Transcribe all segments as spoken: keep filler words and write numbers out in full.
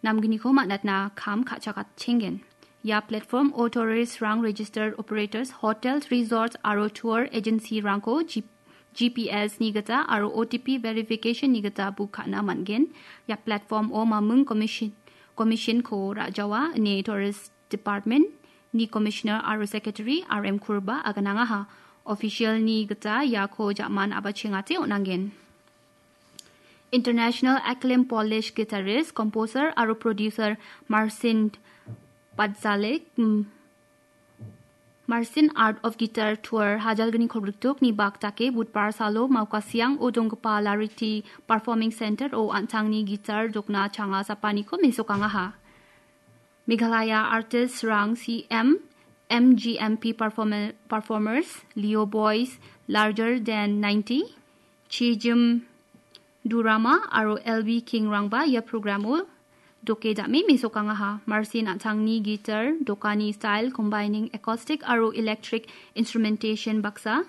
namgniko man·atna kam ka·chakatchengen. Ia platform-o tourist-rang, registered operators, hotels, resorts aro tour agency-rangko G-, G P S-ni gita aro O T P verification-ni gita book ka·na man·gen. Ia platform-o mamung commission, commission-ko ra·jawa ine Tourist Department-ni Commissioner aro Secretary R M Kurba aganangaha. Official-ni gita iako ja·man abachengate on·angen. International acclaimed Polish guitarist, composer aro producer Marcin Padzalek, mm, Marcin Art of Guitar Tour hajalgni kolgriktokni bak dake Budbar salo Maukasiang-o donggipa Lariti Performing Center-o an·tangni guitar jokna changa sapaniko mesokangaha. Meghalaya artist-rang C M, M G M P performer-, performers, Leo Boys, Larger Than Ninety, Chijim Durama aro L B King-rangba ia program-o doke dame mesokangaha. Marcin an·tangni guitar dokani style combining acoustic aro electric instrumentation baksa,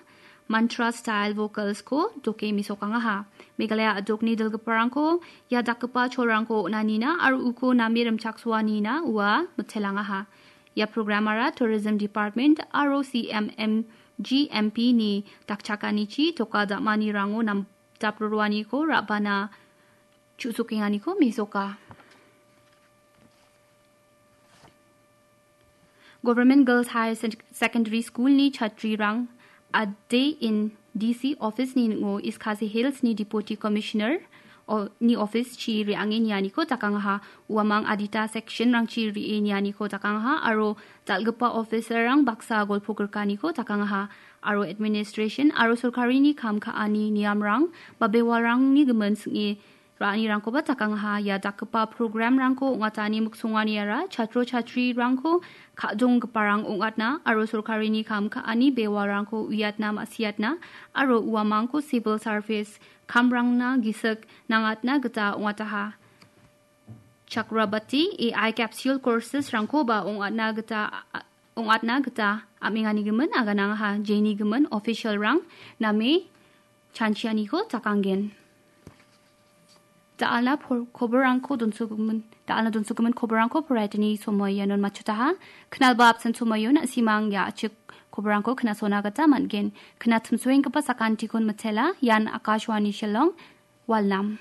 mantra style vocals-ko doke mesokangaha. Meghalaya a·dokni dilgiparangko ia dakgipa cholrangko on·anina aro uko name rimchaksoanina ua mitelangaha. Ia programara Tourism Department aro C M M G M P-ni dakchakanichi doka dam·anirango nam-, daproroaniko ra·bana chu·sokenganiko mesoka. Government Girls Higher Sec-, Secondary School-ni chatrirang a day in D C office-ni ning·o East Khasi Hills-ni Deputy Commissioner o-, ni office-chi re·ange nianiko dakangaha. Uamang adita section-rangchi re·e nianiko dakangaha aro dal·gipa officer-rang baksa golpo grikaniko dakangaha aro administration aro sorkarini kam ka·ani niamrang ba bewalrangni gimin sing·e ra·anirangkoba dakangaha. Ia dakgipa programrangko ong·atani miksonganiara chatro chatrirangko ka·donggiparang ong·atna aro sorkarini kam ka·ani bewalrangko uiatna ma·siatna aro uamangko civil service kamrangna gisik nangatna gita ong·ataha. Chakrabati A I capsule courses-rangkoba ong·atna gita, ong·atna gita am·enganigimin aganangaha. Jeni gimin official-rang name chanchianiko dakanggen. Da·alna por-, koborrangko donsogimin, da·alna donsogimin koborrangko poraitani somoi ianon matchotaha. Knalba apsan somoion na·simang ia a·chik koborrangko knasona gita man·gen. Knatimsoenggipa sakantikon mitela, ian Akashvani Shillong, Walnam.